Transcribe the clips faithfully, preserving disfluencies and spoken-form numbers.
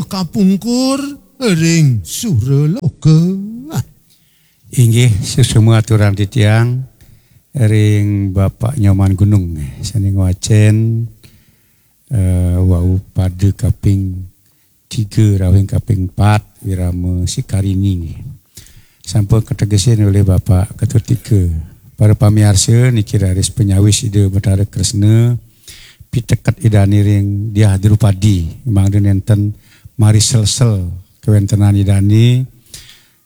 kapungkur ring suraloka. Inggih, suksma aturang titiang ring Bapak Nyoman Gunung, eh, sane ngwacen, eh, wau pada kaping tiga rawing kaping empat, Wirama Sikarini. Sampun kategesin olih Bapak Ketut Ika. Para pamiarsa, niki raris panyawis Ida Betara Kresna, piteket Idane ring Diah Drupadi, mangda nenten mariselsel kawentenan Idane,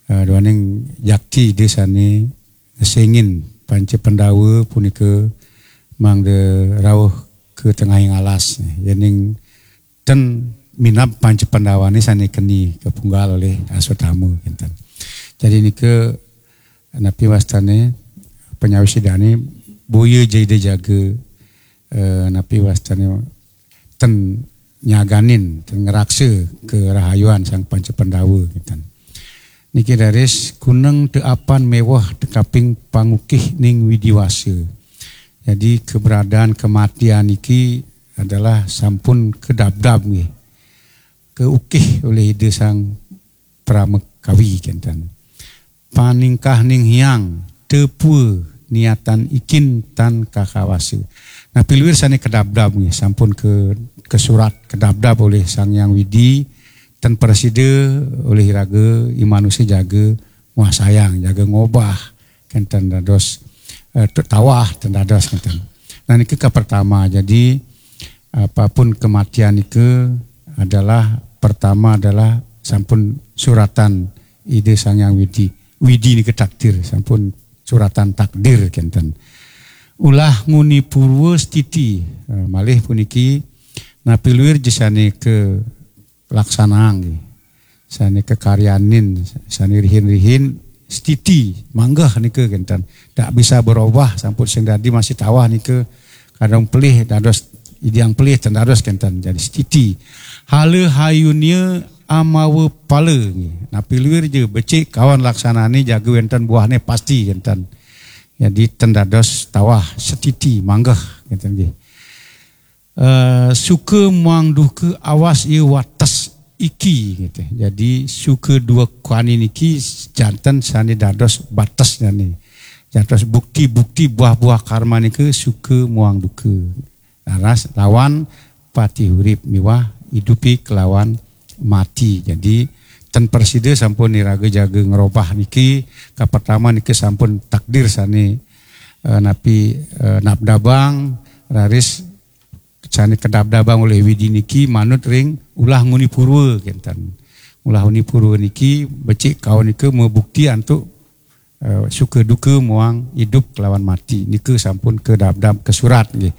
eh, duaning jakti Ida sane ngesengin Panca Pandawa punika mangda rauh ka tengahing alas. Yening ten minab Panca Pandawane sane keni kapunggal olih Aswatthama, kenten. Jadi nika napi wastane panyawis Idane, boya ja Ida jaga, eh, napi wastane ten nyaganin, ten ngraksa karahayuan Sang Panca Pandawa, kenten. Niki raris kuneng teu apan meweh teu kaping pangukih ning widiwasa. Jadi keberadaan kematian niki adalah sampun kadabdab nggih. Kaukih olih Ida Sang Parama Kawi, kenten. Paningkah ning hyang, teu pua niatan ikin tan kakawasa. Napi luir sane kadabdab nggih, sampun ka, kasurat kadabdab olih Sang Hyang Widi, ten prasida olih iraga i manusa jaga nguasayang, jaga ngobah, kenten dados, eh, tu-, tawah, ten dados kenten. Nah, niki kapertama. Jadi, apapun kematian nika adalah, pertama adalah sampun suratan Ida Sang Hyang Widi. Widi nika takdir, sampun suratan takdir, kenten. Ulah nguni purwa stiti, eh, malih puniki napi luir ja sane kalaksanaang nggih. Sane kakaryanin, sane rihin-rihin, stiti, manggeh nika, kenten. Tak bisa berubah, sampun sing dadi masih tawah nika, kadang pelih dados idang pelih, ten dados, kenten. Jadi stiti. Hala hayunia amawa pala nggih. Napi luir ja becik kawan laksanane jaga wenten buahne pasti, kenten. Jadi ten dados tawah, stiti, manggeh, kenten nggih. Eh, suka muang duka awas ia wates iki, gitu. Jadi suka duka niki janten sane dados batesnyane. Janten bukti-bukti buah-buah karma nika suka muang duka. Laras lawan pati urip miwah idupi kelawan mati. Jadi ten prasida sampun iraga jaga ngrobah niki, kapertama niki sampun takdir sane, eh, napi, eh, nabdabang, raris sane kadabdabang olih Widi niki manut ring ulah nguni purwa, kenten. Ulah nguni purwa niki becik kawan nika mabukti antuk, eh, suka duka muang idup kelawan mati. Nika sampun kadabdab kasurat nggih.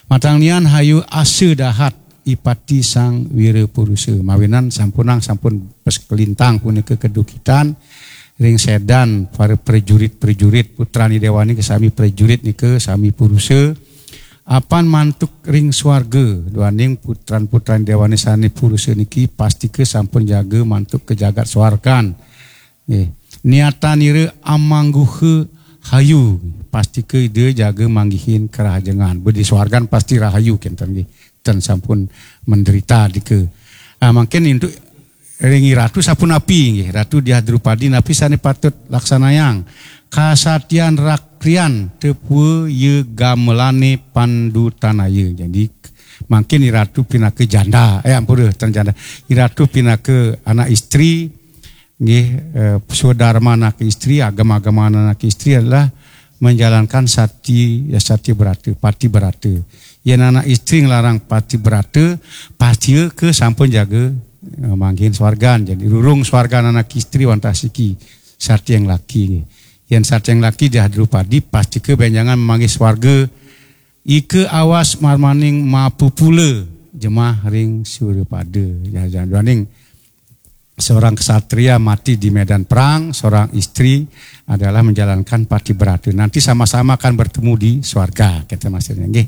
Matang nian hayu asa dahat ipati Sang Wira Purusa. Mawinan sampunang sampun pes kalintang punika kadukitan ring sedan para prajurit-prajurit, putran Dewane nika sami prajurit nika sami purusa. Apan mantuk ring swarga, duaning putran-putran Dewane sane purusa niki pastika sampun jaga mantuk ka jagat swargan. Nggih. Niatanira amangguha hayu, pastika Ida jaga manggihin karahajengan. Budi swargan pasti rahayu, kenten nggih. Ten sampun menderita dika. Ah, mangkin untuk ring Ratu sapunapi nggih, Ratu Diah Drupadi, napi sane patut laksanayang? Kasatian rakrian tepua ye gamelane pandutanaya. Jadi mangkin Ratu pinaka janda, eh, ampura, ten janda. Ratu pinaka anak istri, nggih, eh, swadarma anak istri, agama-agama anak istri adalah menjalankan sati, ya, sati berata, pati berata. Yen anak istri nglarang pati berata, pastika sampun jaga, eh, manggihin swargan. Jadi rurung swargan anak istri wantah siki, sati yang laki nggih. Yen sati yang laki Diah Drupadi, pastika benjangan manggih swarga. Ika awas marmaning mapupula jemah ring surapada. Ya, jangan duaning seorang kesatria mati di medan perang, seorang istri adalah menjalankan pati berata. Nanti sama-sama akan bertemu di swarga, kata maksudnya nggih.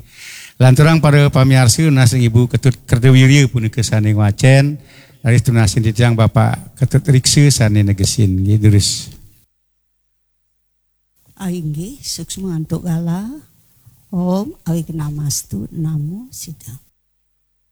Lanturang para pamiarsa, nunas ring Ibu Ketut Kertawirya punika sane ngwacen, raris tunasin titiang Bapak Ketut Riksa sane negesin nggih, durus. Ah, inggih, suksma antuk galah. Om Awighnamastu Namo Siddham.